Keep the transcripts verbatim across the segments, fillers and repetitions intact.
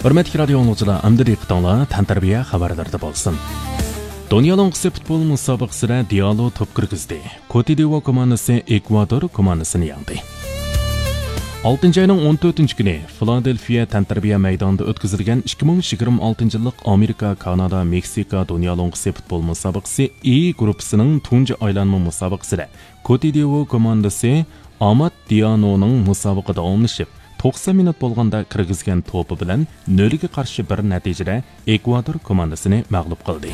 ھۆرمەتلىك رادىيو ئاڭلىغۇچىلار، ئەمدى دىققىتىڭلار تەنتەربىيە خەۋەرلىرىدە بولسۇن. دۇنيا لوڭقىسى پۇتبول مۇسابىقىسىدە دىئالو توپ كىرگۈزدى. كوتىدىۋۇار كوماندىسى ئېكۋادور كوماندىسىنى يەڭدى. ئالتىنچى ئاينىڭ ئون تۆتىنچى كۈنى فىلادېلفىيە تەنتەربىيە مەيدانىدا ئۆتكۈزۈلگەن ئىككى مىڭ يىگىرمە ئالتىنچى يىللىق ئامېرىكا، كانادا، مېكسىكا دۇنيا لوڭقىسى پۇتبول مۇسابىقىسى ئى گۇرۇپپىسىنىڭ تۇنجى ئايلانما مۇسابىقىسىدە كوتىدىۋۇار كوماندىسى ئامات دىئانونىڭ مۇسابىقە داۋاملىشىپ، توقسان مىنۇت بولغاندا كىرگۈزگەن توپى بىلەن نۆلگە قارشى بىر نەتىجىدە ئېكۋادور كوماندىسىنى مەغلۇپ قىلدى.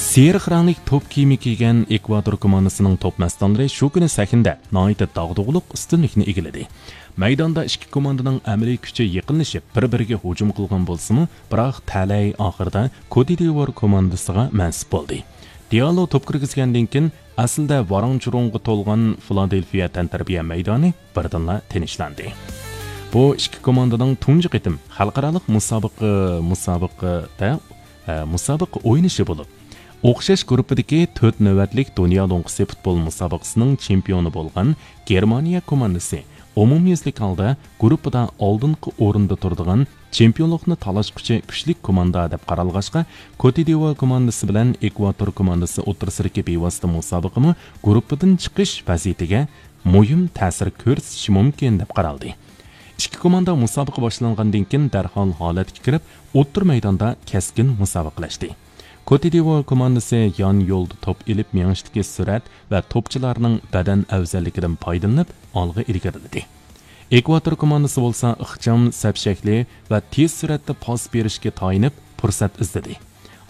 سېرىق رەڭلىك توپ كىيىمى كىيگەن ئېكۋادور كوماندىسىنىڭ توپ مەستانىلىرى شۇ كۈنى سەھنىدە ناھايىتى داغدۇغىلىق ئۈستۈنلۈكنى ئىگىلىدى. مەيداندا ئىككى كوماندىنىڭ ئەمەلىي كۈچى يېقىنلىشىپ، بىر-بىرىگە ھۇجۇم قىلغان بولسىمۇ، بىراق تەلەي ئاخىرىدا كوتىدىۋۇار كوماندىسىغا مەنسۇپ بولدى. دىئالو توپ كىرگۈزگەندىن كېيىن، ئەسلىدە ۋاراڭ-چۇرۇڭغا تولغان فىلادېلفىيە تەنتەربىيە مەيدانى بىردىنلا تىنچلاندى. بۇ ئىككى كوماندىنىڭ تۇنجى قېتىم خەلقئارالىق مۇسابىقە، مۇسابىقىدە، ئە، مۇسابىقە ئوينىشى بولۇپ، ئوخشاش گۇرۇپپىدىكى تۆت نۆۋەتلىك دۇنيا لوڭقىسى پۇتبول مۇسابىقىسىنىڭ چېمپىيونى بولغان گېرمانىيە كوماندىسى ئومۇميۈزلۈك ھالدا گۇرۇپپىدا ئالدىنقى ئورۇندا تۇرىدىغان، چېمپىيونلۇقنى تالاشقۇچى كۈچلۈك كوماندا دەپ قارالغاچقا، كوتىدىۋۇار كوماندىسى بىلەن ئېكۋادور كوماندىسى ئوتتۇرىسىدىكى بىۋاسىتە مۇسابىقىمۇ گۇرۇپپىدىن چىقىش ۋەزىيىتىگە مۇھىم تەسىر كۆرسىتىشى مۇمكىن دەپ قارالدى. ئىككى كوماندا مۇسابىقە باشلانغاندىن كېيىن دەرھال ھالەتكە كىرىپ، ئوتتۇرا مەيداندا كەسكىن مۇسابىقىلەشتى. كوتىدىۋۇار كوماندىسى يان يولدا توپ ئېلىپ مېڭىشتىكى سۈرئەت ۋە توپچىلارنىڭ بەدەن ئەۋزەللىكىدىن پايدىلىنىپ ئالغا ئىلگىرىلىدى. ئېكۋاتور كوماندىسى بولسا ئىخچام سەپ شەكلى ۋە تېز سۈرئەتتە پاس بېرىشكە تايىنىپ پۇرسەت ئىزدىدى.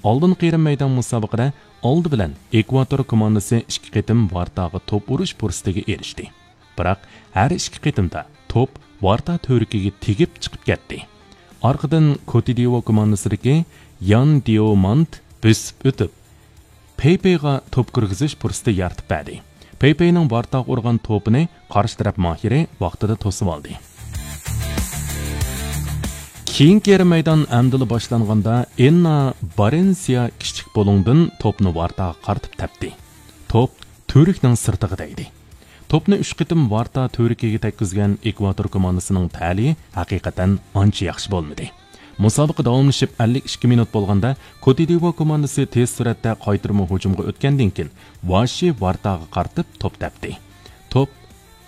ئالدىنقى يېرىم مەيدان مۇسابىقىدە ئالدى بىلەن ئېكۋاتور كوماندىسى ئىككى قېتىم ۋارتاغا توپ ئۇرۇش پۇرسىتىگە ئېرىشتى. بىراق ھەر ئىككى قېتىمدا توپ ۋارتا تۈۋرۈكىگە تېگىپ چىقىپ كەتتى. ئارقىدىن كوتىدىۋو كوماندىسىدىكى يان دىئومانت بۆسۈپ ئۆتۈپ، پېيپېيغا توپ كىرگۈزۈش پۇرسىتى يارىتىپ بەردى. پېيپېينىڭ ۋارتاغا ئۇرغان توپىنى قارشى تەرەپ ماھىرى ۋاقتىدا توسۇۋالدى. كېيىنكى يېرىم مەيدان ئەمدىلا باشلانغاندا، ئېننا بارېنسىيا كىچىك بۇلۇڭدىن توپنى ۋارتاغا قارىتىپ تەپتى. توپ تۈۋرۈكنىڭ سىرتىغا تەگدى. توپنى ئۈچ قېتىم ۋارتا تۈۋرۈكىگە تەگكۈزگەن ئېكۋاتور كوماندىسىنىڭ تەلىيى ھەقىقەتەن ئانچە ياخشى بولمىدى. مۇسابىقە داۋاملىشىپ ئەللىك ئىككى مىنۇت بولغاندا، كوتىدىۋو كوماندىسى تېز سۈرئەتتە قايتۇرما ھۇجۇمغا ئۆتكەندىن كېيىن، ۋاشى ۋارتاغا قارىتىپ توپ تەپتى. توپ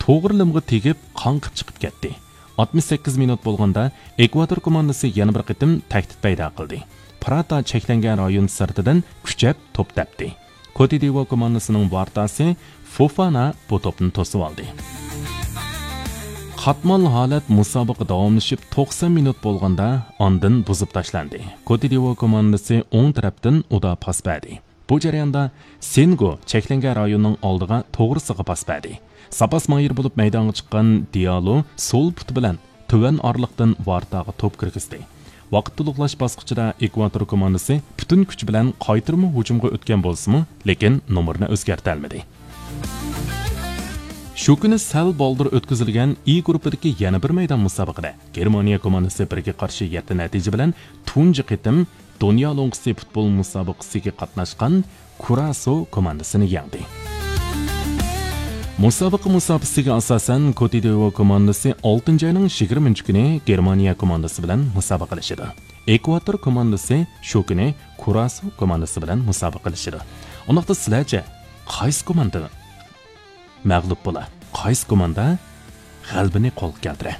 توغرا لىمغا تېگىپ، قاڭقىپ چىقىپ كەتتى. ئاتمىش سەككىز مىنۇت بولغاندا، ئېكۋاتور كوماندىسى يەنە بىر قېتىم تەھدىت پەيدا قىلدى. پىراتا چەكلەنگەن رايون سىرتىدىن كۈچەپ توپ تەپتى. كوتىدىۋو كوماندىسىنىڭ ۋارتاسى فوفانا بۇ توپنى توسۇۋالدى. قاتمال ھالەت مۇسابىقە داۋاملىشىپ توقسان مىنۇت بولغاندا، ئاندىن بۇزۇپ تاشلاندى. كوتىدىۋو كوماندىسى ئوڭ تەرەپتىن ئۇدا پاس بەردى. بۇ جەرياندا سېنگو چەكلەنگەن رايوننىڭ ئالدىغا توغرىسىغا پاس بەردى. زاپاس ماھىرى بولۇپ مەيدانغا چىققان دىيالو سول پۇتى بىلەن تۆۋەن ئارىلىقتىن ۋارتاغا توپ كىرگۈزدى. ۋاقىت تولۇقلاش باسقۇچىدا ئېكۋاتور كوماندىسى پۈتۈن كۈچى بىلەن قايتۇرما ھۇجۇمغا ئۆتكەن بولسىمۇ، لېكىن نومۇرنى ئۆزگەرتەلمىدى. شۇ كۈنى سەل بالدۇر ئۆتكۈزۈلگەن ئى گۇرۇپپىدىكى يەنە بىر مەيدان مۇسابىقىدە گېرمانىيە كوماندىسى بىرگە قارشى يەتتە نەتىجە بىلەن تۇنجى قېتىم دۇنيا لوڭقىسى پۇتبول مۇسابىقىسىگە قاتناشقان كۇراسو كوماندىسىنى يەڭدى. مۇسابىقە مۇساپىسىگە ئاساسەن، كوتىدىۋو كوماندىسى ئالتىنچى ئاينىڭ يىگىرمىنچى كۈنى گېرمانىيە كوماندىسى بىلەن مۇسابىقىلىشىدۇ. ئېكۋاتور كوماندىسى شۇ كۈنى كۇراسو كوماندىسى بىلەن مۇسابىقىلىشىدۇ. ئۇنداقتا سىلەرچە، قايسى كوماندا مەغلۇپ بولا؟ قايسى كوماندا غەلىبىنى قولغا كەلتۈرە؟